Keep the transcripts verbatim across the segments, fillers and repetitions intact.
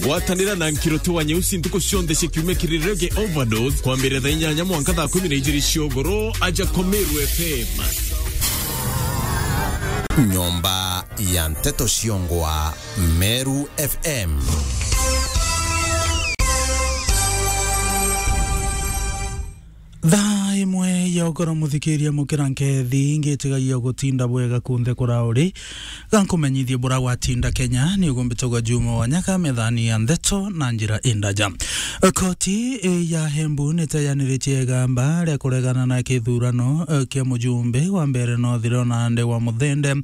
Gwatanira na Nkiruti wa Nyeusi ntuku cionthe cia kiumia kiri Reggae Overdose, kwambiriria thaa inyanya mwanka thaa kumi na ijiri cia ugoro, aja kwa Meru F M. Nyomba ya nteto ciongwa, Meru F M. Thaa imwe ya ugoro, muthikiria, mukira nkethi, ngitigagia gutinda bwega kunthe kura uri. Gankumenyithie bura gwatinda Kenya, ni ugumbitagwa Juma wa Nyaka methani ya ndeto na njira indaja. Koti, eh, ya Embu niteyaniritie igamba ria kuregana na kithurano, eh, kia mujumbe wa Mbeere North Leonard wa Muthende,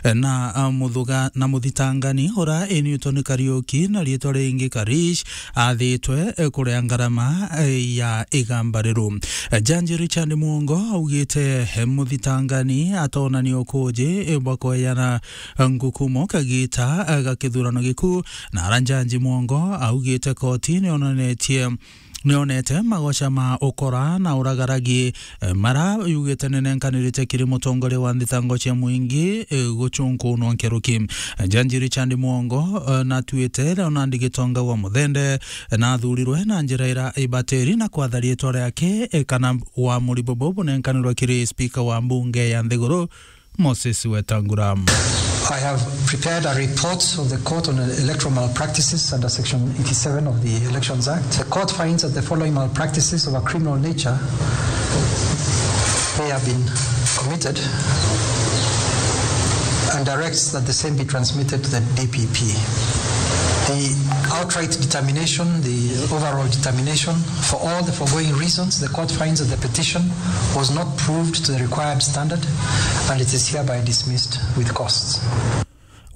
eh, na, ah, muthuga-, na muthitangani ura initwo ni Kariuki na riitwa ringi Karish, athitwe, eh, kuria ngarama, eh, ya igamba riru. Eh, Jaji Richard Mwongo augite, eh, muthitangani atonania ukuji, eh, bwa kweyana, eh, ngukumo kagita, eh, ga kithurano giku, na ara Jaji Mwongo augite koti nionanetie, nionete magoca ma ukora na uragaragi, eh, mara yugite ninenkanirite kiri mutongoria wa nthitango cia mwingi, eh, gucunkunwa nkeruki. Eh, Jaji Richard Mwongo, eh, natuite Leonard Gitonga wa Muthende, eh, nathurirwe na njira ira ibatiri na kwatha riitwa riake, eh, kana wamuri bubu bunenkanirwe kiri spika wa mbunge ya nthiguru, Moses Wetangula. I have prepared a report of the court on electoral malpractices under Section eighty-seven of the Elections Act. The court finds that the following malpractices of a criminal nature may have been committed and directs that the same be transmitted to the D P P. The outright determination, the overall determination, for all the foregoing reasons, the court finds that the petition was not proved to the required standard and it is hereby dismissed with costs.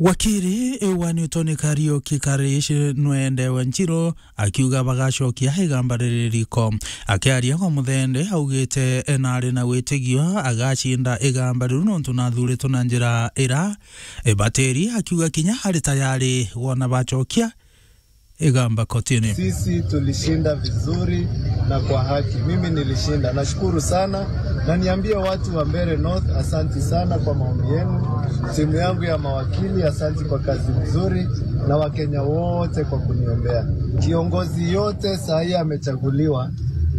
Wakiri, eh, wa Newton Kariuki Karish nwendewe Nchiro akiuga bagacokia igamba riri riko. Akiaria kwa Muthende, augite, eh, nari na witigio agacinda igamba riu nontu nathuritwe na njira ira ibatiri, akiuga kinya ari tayari wona bacokia igamba kotini. Sisi tulishinda vizuri na kwa haki. Mimi nilishinda. Nashukuru sana. Na niambie watu wa Mbeere North, asanti sana kwa maombi yenu. Timu yangu ya mawakili, asanti kwa kazi nzuri, na Wakenya wote kwa kuniombea. Kiongozi yote saa hii amechaguliwa,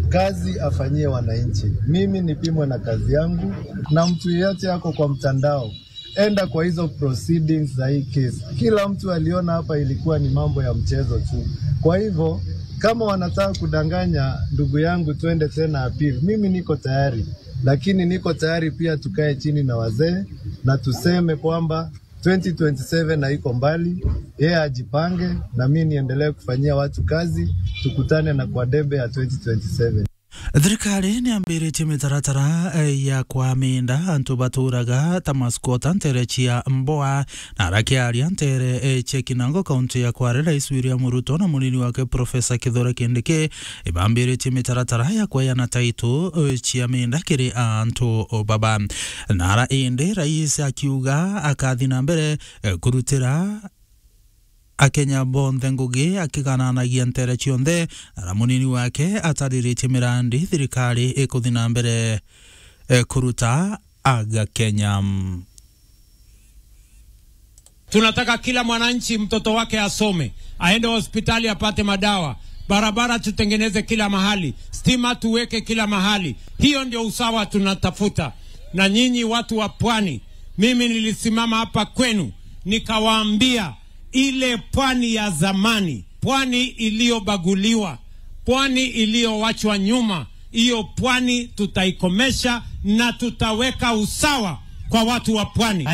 kazi afanyie wananchi. Mimi nipimwe na kazi yangu, na mtu yeyote ako kwa mtandao, enda kwa hizo proceedings za hii case. Kila mtu aliona hapa ilikuwa ni mambo ya mchezo tu. Kwa hivyo, kama wanataka kudanganya ndugu yangu twende tena appeal, mimi niko tayari, lakini niko tayari pia tukae chini na wazee na tuseme kwamba twenty twenty-seven haiko mbali, yeye ajipange na mimi niendelee kufanyia watu kazi, tukutane na kwa debe ya twenty twenty-seven. Thirikari niambiritie mitaratara, eh, ya kwa minda antu baturaga ta masquatter ntere cia Mboa. Na arakiaria ntere, eh, cia Kinango, kaunti ya Kwale, Rais William Ruto na munini wake Professor Kithure Kindiki ibambiritie mitaratara ya kweyana title, eh, cia minda kiri antu baba. Na ara indi rais akiuga akathi na mbere, eh, kurutira Akenya bonthe ngugi akigananagia ntere cionthe, na munini wake atariritie mirandi thirikari ikuthi na mbere, eh, kuruta aga Kenya. Tunataka kila mwananchi mtoto wake asome, aende hospitali apate madawa, barabara tutengeneze kila mahali, stima tuweke kila mahali. Hiyo ndio usawa tunatafuta. Na nyinyi watu wa pwani, mimi nilisimama hapa kwenu nikawaambia, ile pwani ya zamani, pwani iliyobaguliwa, pwani iliyowachwa nyuma, hiyo pwani tutaikomesha na tutaweka usawa kwa watu wa pwani.